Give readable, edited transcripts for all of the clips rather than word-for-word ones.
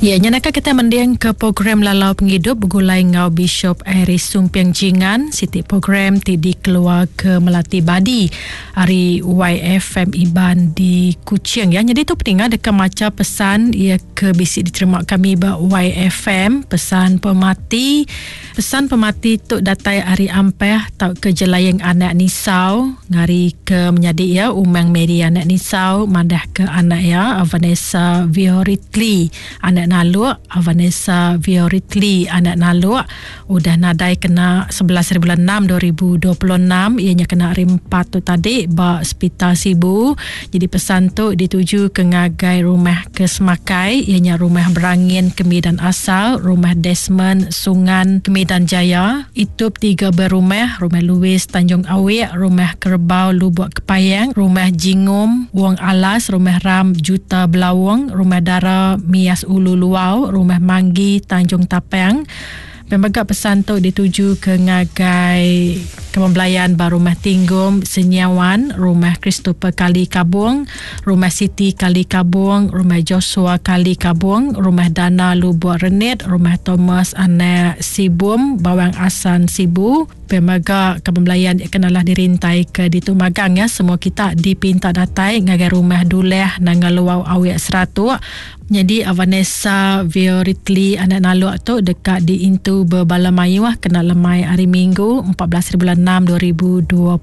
Ya, nya naka kita mending ke program Lalau Pengidup begulai enggau Bishop Iris Sumping Jingan, siti program ti dikeluar ke Melati Badi ari YFM Iban di Kuching. Ya, jadi tu peninga deka macha pesan ia ke bisi diterima kami ba YFM, pesan pemati. Pesan pemati tu datai ari Ampeh tauka Jelaying anak Nisau ngari ke menyadi iya Umang Mary anak Nisau madah ke anak iya Vanessa Vioritli anak Naluk Vanessa Vioritli anak Naluk udah nadai kena 11 hari bulan 6 2026 iya nya kena hari 4 tu tadi ba Sepital Sibu. Jadi pesan tu dituju ke ngagai rumah ke Semakai iya nya Rumah Berangin Kemidan Asal, Rumah Desmond Sungan Kemidan Jaya, Itup Tiga Berumah, Rumah Louis Tanjung Awik, Rumah Kerebau Lubuk Kepayang, Rumah Jingum Wong Alas, Rumah Ram Juta Belawong, Rumah Dara Mias Ulu Luau, Rumah Manggi Tanjung Tapang. Pia mega pesan tu dituju ke ngagai Kaban Belayan ba Rumah Tinggom Senyiawan, Rumah Christopher Kali Kabong, Rumah Siti Kali Kabong, Rumah Joshua Kali Kabong, Rumah Dana Lubuk Renit, Rumah Thomas Anak Sibum, Bawang Asan Sibu. Pia mega Kaban Belayan kenalah dirintai ke ditu magang ya. Semua kita dipinta datai ngagai Rumah Duleh Nanga Luau Awik Seratuk. Nyadi Vanessa Vioritli anak Naluk tu deka diintu bebala mayuh kena lemai hari Minggu 14 hari bulan 6 2026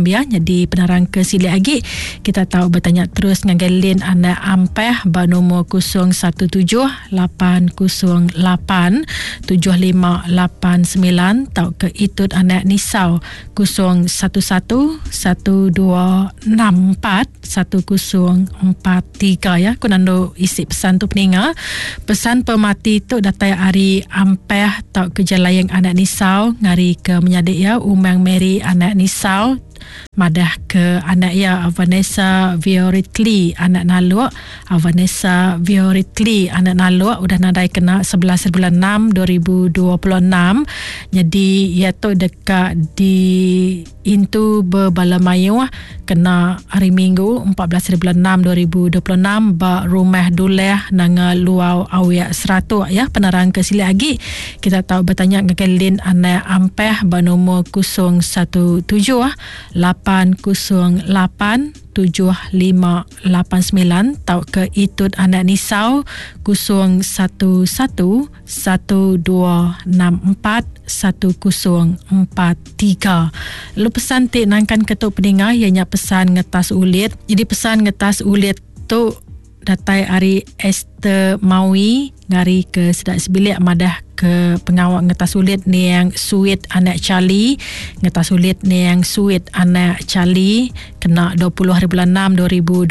ya. Nyadi penerang ke silik agi kita tau betanya terus ngagai Lin anak Ampeh ba nomor 017 808 7589 tauka Itut anak Nisau 011 1264 1043 ya ku nandu isi pesan tu peninga pesan pemati tu datai ari Ampeh tau ke Jelayang anak Nisau ngari ke menyadi iya Umang Mary anak Nisau madah ke anak iya Vanessa Vioritli anak Naluk Vanessa Vioritli anak Naluk udah nadai kena 11 bulan 6 2026 jadi iya tu deka di Intu bebala mayuh kena Hari Minggu 14 hari bulan 6 2026 ba Rumah Duleh Nanga Luau Awik Seratuk ya. Penerang ke silik agi kita tau betanya ngagai Lin Anak Ampeh ba nomor 017 808 7589 tauka Itut Anak Nisau 011 1264 1043. Lalu pesan ti nangkan ke tu peninga iya nya pesan ngetas ulit. Jadi pesan ngetas ulit tu datai ari Esther Mawi ngari ke sida sebilik madah ke pengawa ngetas ulit niang Suit anak Charlie ngetas ulit niang Suit anak Charlie Kena 20 hari bulan 6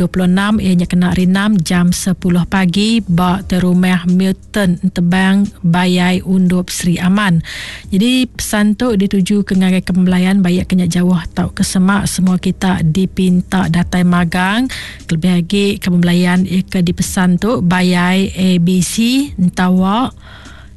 2026 iya nya kena hari 6 jam 10 pagi ba Terumah Milton Entebang Bayai Undup Sri Aman. Jadi pesan tu dituju ke ngagai kembelayan baik ke nya jauh tauka semak semua kita dipinta datai magang kelebih agi kembelayan iya ke dipesan tu Bayai ABC Entawa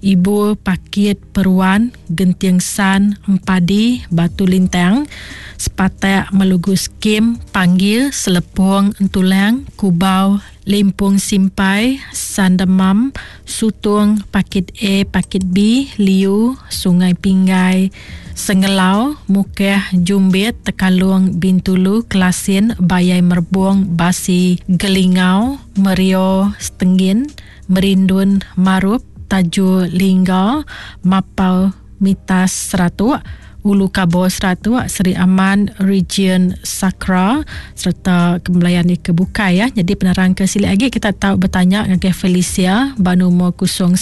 Ibur Pakit Peruan Genting San Empadi Batu Lintang Sepatak Melugu Skim Panggil Selepong Entulang Kubau Limpung Simpai Sandemam Sutung Pakit A Pakit B Liu Sungai Pinggai Sengelau Mukeh Jumbit Tekalung Bintulu Kelasin Bayai Merbung Basi Gelingau Merio Setenggin Merindun Marup, Tajur Lingga, Mapau Mitas Seratuk, Ulu Kabo Seratuk, Seri Aman, Region Sakra sereta kembelayan ke bukai ya. Jadi penerang ke silik agi kita tau betanya ngagai Felicia ba nomor 019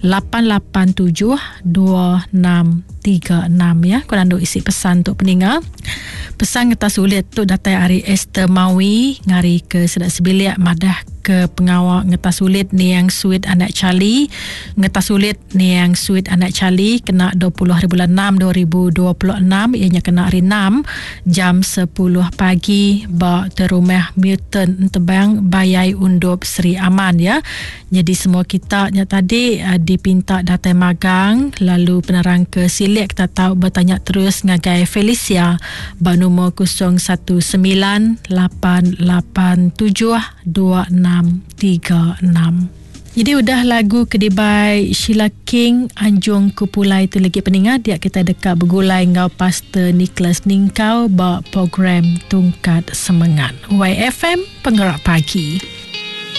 887 2636 ya. Ku nandu isi pesan tu peninga. Pesan ngetas ulit tu datai ari Esther Mawi ngari ke sida sebilik madah ke pengawa ngetas ulit niang Suit anak Charlie. Ngetas ulit niang Suit anak Charlie kena 20 hari bulan 6 2026 iya nya kena hari 6 jam 10 pagi ba Terumah Milton Entebang Bayai Undup Sri Aman ya. Nyadi semua kita nya tadi dipinta datai magang lalu penerang ke silik kita tau betanya terus ngagai Felicia ba nomor 019 887 2636. Jadi udah lagu ke dibai Sheila King Anjung Ku Pulai tu lagi peninga dia kita deka begulai enggau Pastor Nicholas Ningkau ba program Tungkat Semengat. YFM Penggerak Pagi.